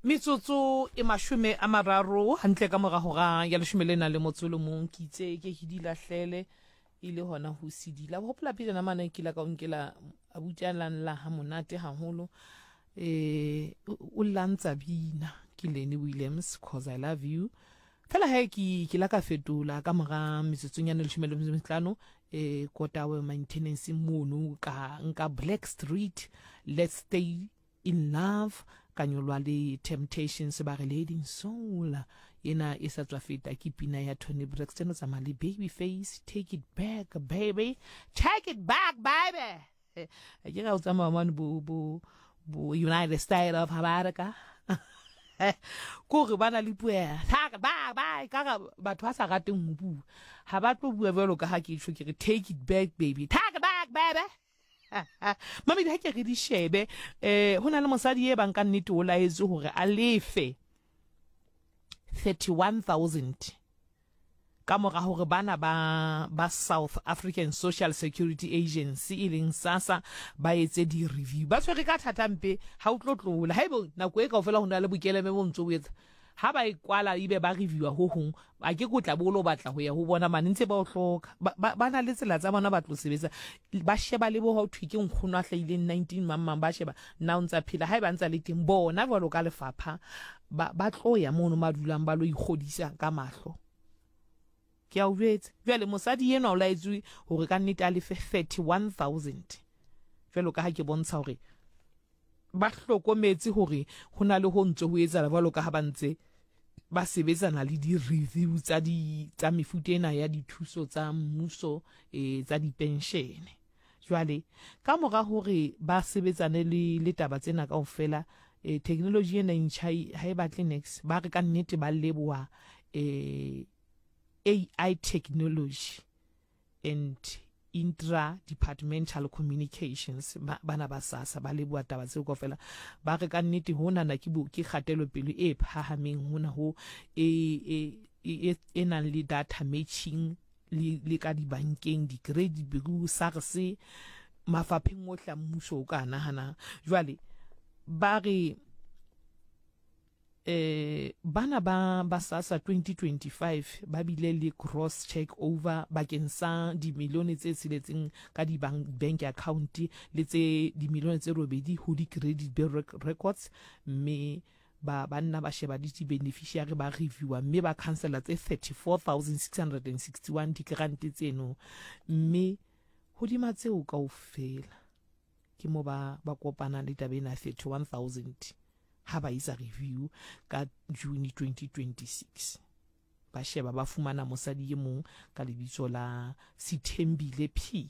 Metsotso e 30 hantle ka mora hora ya leshome le nang le motso o le mong, ke itse ke ke di lahlele e le hona ho sedila. O hopola pejana mane ke la ka o nkela abuti a lang la ha monate haholo eh o lla ntsa bina ke Lenny Williams Cause I Love You. Fela he ke ke la ka fetola ka mora metsotsonyana e leshome le metso e mehlano eh kotawe maintenance mono ka nka Black Street Let's Stay In Love ka nyolwa le Temptations ba re Leading Soul ena e sa tswa feta ke pina ya Toni Braxton o tsamaya le Babyface Take It Back Baby Take It Back Baby ke ga o tsamaya mane bo bo bo United States of America ko re ba na le puo ya ba ba ka ga batho ba sa rateng ho bua ha ba tlo bua jwalo ka ha ke tjho ke re take it back baby take it back baby Mamedi ha ke re di shebe eh ho na le mosadi e bang ka nnete o laetswe hore a lefe 31000 ka mora hore bana ba ba South African Social Security Agency e leng SASSA ba etse di-review ba tshwere ka thata mpe ha o tlo tlola haebe nako e kaofela ho na le bokeleme bo ntse o etsa Ha ba e kwala ebe ba reviewa ho hong, a ke ke o tla be o lo batla ho ya ho bona mane ntse ba o hloka. Ba, ba, ba na le tsela tsa bona ba tlo sebetsa. Ba sheba le bo ha ho thwe ke nkgono a hlahileng 19 mang mang, ba sheba na o ntsa phela. Haeba a ntsa le teng, bona jwalo ka lefapha ba, ba tlo ya mono ba dulang ba lo ikgodisa ka mahlo. Ke a o jwetsa. Jwale mosadi enwa o laetswe hore ka nnete a lefe 31,000. Jwalo ka ha ke bontsha hore Ba hlokometse hore ho na le ho ntse ho etsahala jwalo ka ha ba ntse ba sebetsana le di-review tsa di tsa mefuta ena ya dithuso tsa mmuso e, tsa dipenshene. Jwale ka mora hore ba sebetsane le le taba tsena kaofela e, technology ena e ntjha ha e batle niks. Ba re ka nnete ba leboha e, AI technology and intra-departmental communications ba, bana ba SASSA ba leboha taba tseo kaofela ba re ka nnete honana ke, bo, ke kgatelopele e phahameng hona ho e, e, e, e nang le data matching le, le ka dibankeng di-credit bureau SARS mafapheng ohle a mmuso o ka nahanang jwale ba re Eh, bana ba ba SASSA 2025 ba bile le gross check over bakeng sa dimilione tse tsheletseng ka di bank account le tse dimilione tse robedi ho di credit bureau records mme ba ba nna ba sheba le di-beneficiary ba reviewa mme ba cancela tse 34661 digrant tseno mme hodima tseo kaofela ke mo ba ba kopanang le taba ena ya 31000 ha ba etsa review ka June 2026. Ba sheba ba fumana mosadi e mong ka lebitso la Sithembile P.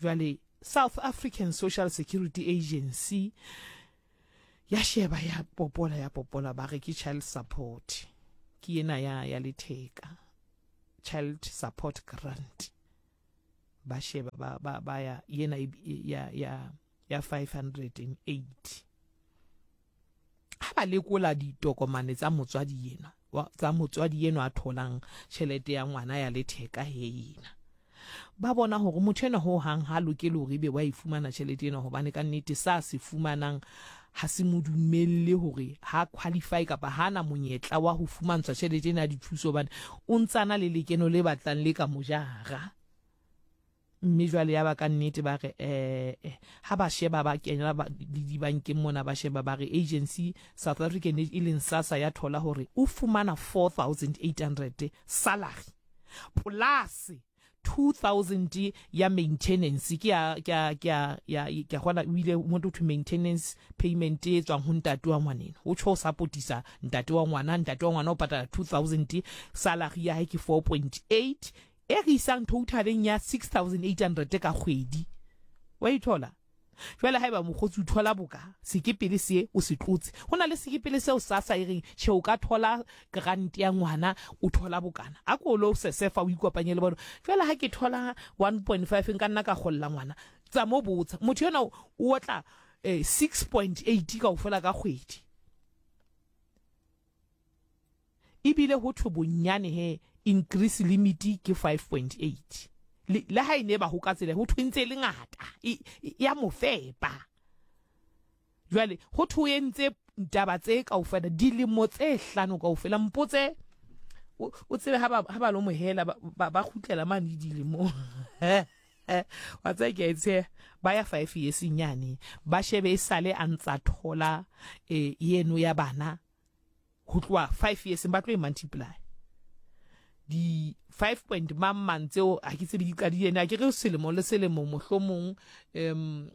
Jwale South African Social Security Agency ya sheba ya popola ya popola ba re ke child support ke ena ya ya letheka child support grant ba sheba ba ba ba ya yena ya ya ya 580 ha ba lekola ditokomane tsa motswadi yena tsa motswadi enwa a tholang tjhelete ya ngwana ya letheka he yena ba bona hore motho enwa ho hang ha lokele hore ebe wa e fumana tjhelete ena hobane ka nnete sa se fumanang ha se mo dumelle hore ha qualify kapa ha na monyetla wa ho fumantshwa tjhelete ena ya dithuso hobane o ntsana le lekeno le batlang le ka mo jara. Mme jwale yaba ka nnete ba re eh, eh ha ba sheba ba kena ba, le dibankeng mona ba sheba ba re agency South African e leng SASSA ya thola hore o fumana 4800 salary plus 2000 ya maintenance ke ya ke ya ke ya ya ke ya gona o ile mo to maintenance payment e tswang ho ntate wa ngwaneno o tsho supportisa ntate wa ngwana ntate wa ngwana o patala 2000 salary ya hae ke 4.8 e re isang totaleng ya 6800 ka kgwedi wa ithola Jwale haeba mokgotsi o thola boka sekepele se o se tlotse, ho na le sekepele seo SASSA e reng tjhe o ka thola grant ya ngwana o thola bokana. A ko lo sesefa o ikopanye le bona. Jwale ha ke thola 1.5 nka nna ka kgolla ngwana. Tsa mo botsa. Motho yona o otla eh, 6.8 kaofela ka kgwedi. Ebile ho thwe bonyane he increase limit ke 5.8. Le, le ha e ne ba ho ka tsela ho thwe ntse e le ngata e, e ya mo fepa. Jwale ho thwe o entse Taba tse kaofela, dilemo tse hlano kaofela, mpotse o tsebe ha ba ha ba lo mohela ba ba kgutlela mane dilemong. Wa tseba ke a e tsheha, ba ya five years nyane, ba shebe e sale a ntsa thola eh yeno ya bana ho tloha five years ba tlo e multiply di five point mang mang tseo ha ke tsebe di qadile na ke re selemo le selemo mohlomong um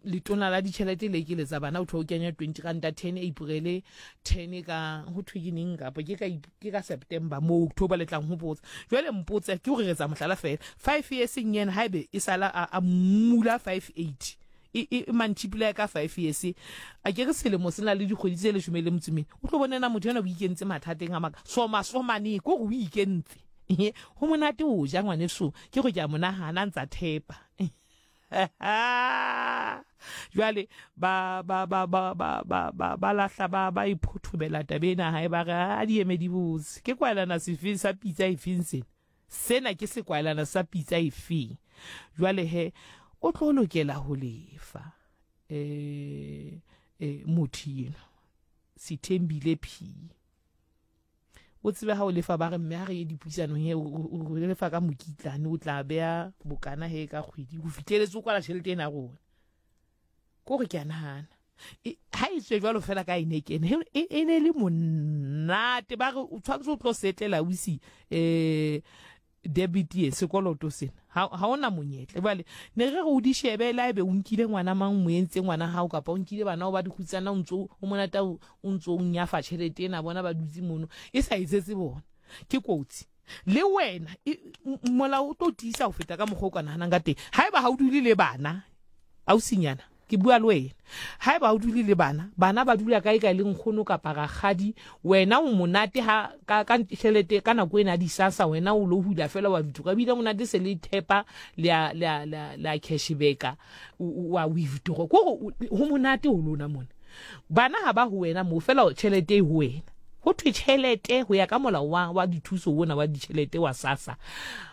letona la ditšhelete le ke letsa bana o thwe o kenya 20 ranta 10 april 10 ka ho thwe ke neng kapa ke ka ke ka september mo october le tlang ho botsa jwale mpotse ke gore re tsa mohlala fela 5 years nyena haebe e sala a mula 58 e, e, e mantšhipula ka five years a ke re selemo se na le dikgwedi tse leshome le metso mene o tlo bonena motho ena o ikentse mathateng a maka soma somane ko gore o ikentse go monate o ja ngwaneso ke go ke a monagana ntsa thepa jwale ba ba ba ba ba ba ba ba lahla ba ba iphothobela tabe ena hae ba re a di eme di botse ke kwalana sefeng sa pitsa efeng sena Sena ke sekwaelana sa pitsa efeng? Jwale he, o tlo lokela ho lefa. E, e, motho eno, Sithembile P. O tsebe ha o lefa ba re mme ha re ye dipuisanong he, o lefa ka mokitlane, o tla beha bokana he ka kgwedi, ho fihleletse o kwala tjhelete ena ya rona. Ko re ke a nahana. Ha e tswe jwalo fela ka e ne kene e ne le monate ba re o tshwanetse o tlo setlela o ise um debit ye sekoloto sena ha ona monyetla jwale ne re re o di shebe la ebe o nkile ngwana mang mo entse ngwana hao kapa o nkile bana o ba dikgutsana o ntso o monata o ntso o nyafa tjhelete ena bona ba dutse mono e sa etsetse bona ke kotsi Le wena molao o tlo tiisa ho feta ka mokgwa o ka nahanang ka teng. Haeba ha o dule le bana, ausinyana, ke bua le wena. Haeba ha o dule le bana, bana ba dula kae kae le nkgono kapa rakgadi, wena o monate ha ka ka tjhelete ka nako ena ya disasa wena o lo hula fela wa withdraw. Ebile monate se le thepa le a le a le a le a cashbacka wa withdraw. Ko ho monate ho lona mona. Bana ha ba ho wena moo fela tjhelete e ho wena. Ho thwe tjhelete ho ya ka molao wa, wa dithuso ona wa ditjhelete wa SASSA.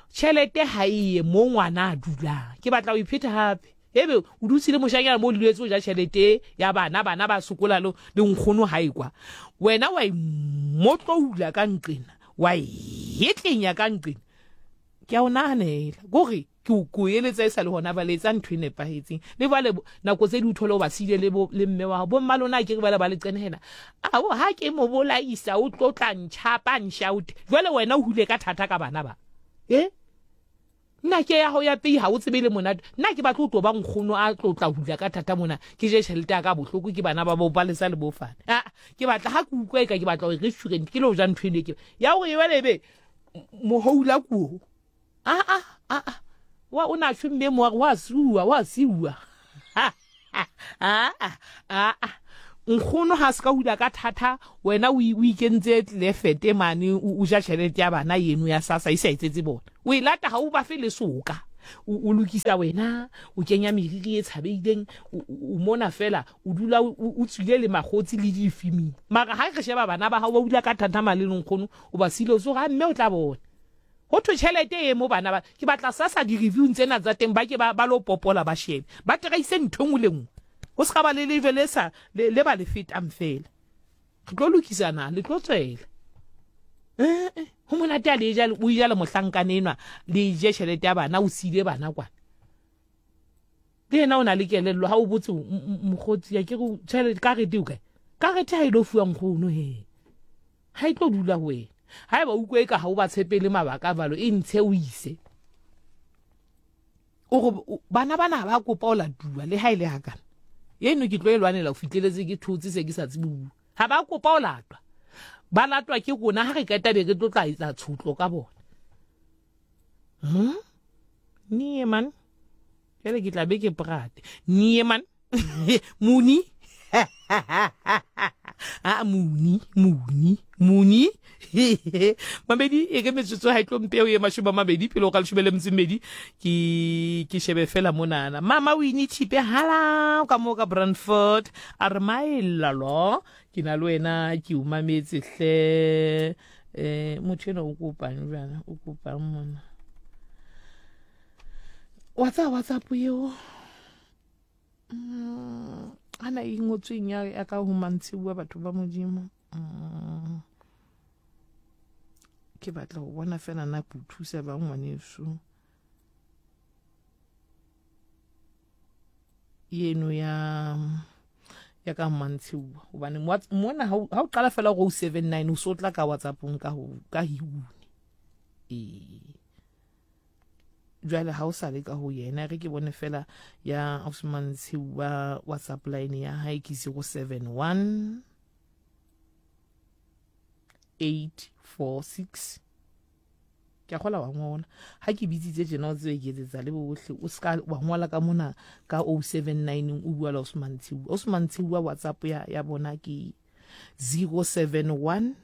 Tjhelete ha e ye mo ngwana a dulang. Ke batla ho iphetha hape. Ebe o dutse le moshanyana mo luletse o ja tjhelete ya bana, bana ba sokola le, le nkgono ha e kwa. Wena wa imotloula ka nqena, wa etlenya ka nqena. Ke a o nahanela. Kore Ke o ke o eletsa e sa le hona bale etsa ntho e nepahetseng. Le jwale nako tse di o thole o ba siile le bo le mme wa hao. Bo mma lona a ke re bale ba le qenehela. Ao ha ke mo bolaisa o tlo tla ntjhapa nshaute. Jwale wena o hule ka thata ka bana ba. Eh? Nna ke ya hao ya pei ha o tsebe le monate. Nna ke batla o tlo ba nkgono a tlo tla hula ka thata mona. Ke je tjhelete ya ka bohloko ke bana ba bo Palesa le bo Fane. Ah, ke batla ha ke utlwa eka ke batla ho restaurant ke lo ja ntho eno ke. Ya hore jwale ebe mohoula kuo. Ah ah ah ah. Wa o na tjho mme mo wa siuwa wa siuwa. Ah ah ah ah. Nkgono ha se ka hula ka thata wena o ikentse tlefete mane o ja tjhelete ya bana yeno ya sasa e sa etsetse bona. O e lata ha o ba fe le soka. O lokisa wena o kenya meriri e tshabeileng o mona fela o dula o tswile le magotsi le difiming. Mara ha re sheba bana ba hao ba hula ka thata mane le nkgono o ba sile o so ga mme o tla bona. Ho thwe tjhelete e mo bana ba ke batla sasa di reviewng tsena tsa teng ba ke ba ba lo popola ba shebe ba traise ntho engwe le nngwe ho se ka ba le lejwe le sa le, le ba le fetang fela re tlo lokisa na le tlo tswela eh, eh ho monate a le ja o ja le mohlankane enwa le je tjhelete ya bana o siile bana kwana le yena o na le kelello ha o botse mokgotsi ya ke re tjhelete karete o kae karete ha e lo fuwa nkgono he Ga e tlo dula go wena. Ga eba o utlwa eka ga o ba tshepele mabaka a balo, e ntshe o ise. O re bana bana ba kopa o latuwa le ha e le hakana. Eno ke tlo e lwanela o fitleletse ke thotse se ke sa tsebe bua. Ha ba kopa o latwa. Ba latwa ke rona ha re qeta be re tlo tla etsa tshotlo ka bona. Hmm? Nie man. Jale ke tla be ke prate. Nie man. Muni. a muni muni muni mabedi e ke metsotso ha e tlo mpeo ye mashome a mabedi pele o ka leshome le metso e mmedi ke ke shebe fela monana mama o ine thipe hala ka mo ka Brandfort a re maelalo ke na le wena ke o mametse hle eh motho ena o kopang jana o kopang mona wa tsaya whatsapp eo mm, Ana e ngotsweng ya, ya ka ho mantshiwa batho ba Modimo. Mm. Ke batla ho bona fela na ke o thusa bang ngwaneso. Yeno ya ya ka mantshiwa hobane mona ha o qala fela go 79 o so tla ka WhatsAppong ka ho ka hiune. Ee. Jwale ha o sa le ka ho yena re ke bone fela ya Osman Tshiwa WhatsApp line ya hae ke 071 846 ke a gola wa ngola ha ke bitsitse tjena o tsebe ke etsetsa le bohle o ska wa ngola ka mona ka 079 o bua le Osman Tshiwa. Osman Tshiwa WhatsApp ya ya bona ke 071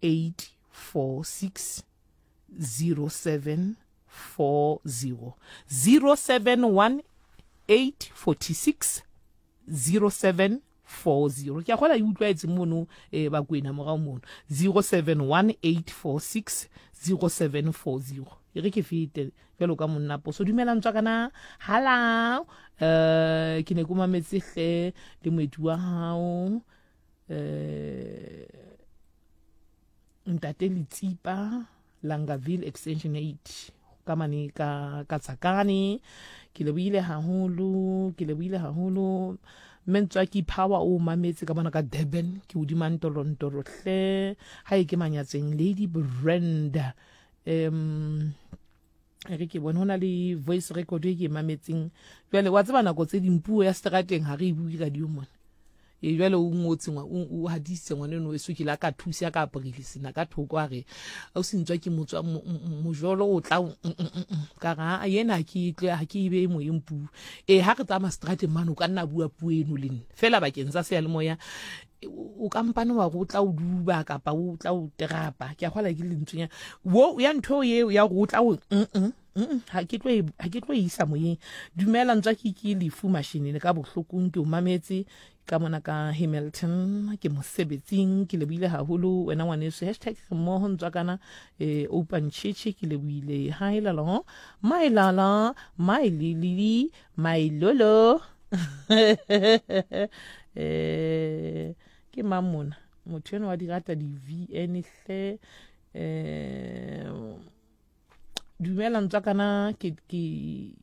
846 0740 071 846 0740 ke a gola e utlwaetse mono eh, bakwena morago mono 071 846 0740 e re ke fete jalo ka monna poso dumelang tswa kana hala um ke ne ko mametse hle le moeti wa gago um Ntate Letsipa, Langaville Extension 8 ka mane ka ka Tsakane. Ke lebohile haholo, ke lebohile haholo. Mme Ntswaki Power o mametse ka mona ka Durban, ke hodima ntorontoro hle. Ha e ke manyatseng Lady Brenda. Re ke bone ho na le voice record e ke e mametseng. Jwale wa tseba nako tse ding puo ya seterateng ha re e bue radio mona. E jwale o ngotse o hadisitse ngwana eno weso ke la ka thusa ka aporile sena ka thoko a re o se ntswa ke motswa mojolo o tla ka ra yena ke tle ha ke be moyeng puo e ha re tsamaya strateng mane o ka nna bua puo eno le nna fela bakeng sa seyalemoya o kampane wa go tla o duba kapa o tla o terapa ke a gola ke lentswe ya wo ya ntho eo ya go tla o ha ke tlo ha ke tlo isa moyeng. Dumela ntswa ke ke lefu mashinini ka bohlokong ke o mametse ka mona ka Hamilton ke mosebetsing ke lebohile haholo wena ngwaneso hashtag re mmoho ntswa kana eh open chichi ke lebohile hi lalo my lala my lili my lolo eh ke mang mona motho eno wa di rata di VN hle eh Dumela ntswakana ke ke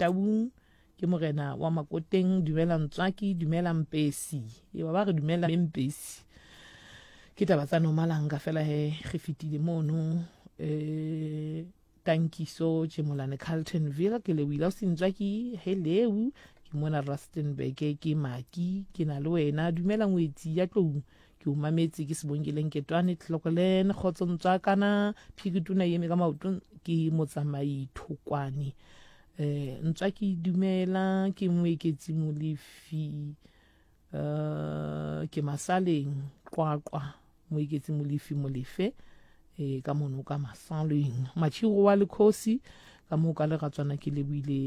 Taung ke morena wa Makoteng. Dumela ntswaki, dumela Mpesi. E ba re dumela Mpesi. Ke taba tsa Nomalanga fela he re fetile mono eh Tankiso Tšemolane Carltonville ke lebohile o sentswaki hello ke mona Rustenburg ke Maki ke na le wena dumela ngwetsi ya tlou Ke o mametse ke Sebongile Nketwane Tlokolen kgotso ntswakana phikituna eme ka maoto ke motsamai Thokwane eh ntswa ke dumela ke moeketsi Molefi eh ke masaleng qwaqwa moeketsi Molefi Molefe eh ka mono ka masaleng Machiro wa lekhosi ka mo ka leratswana ke leboile.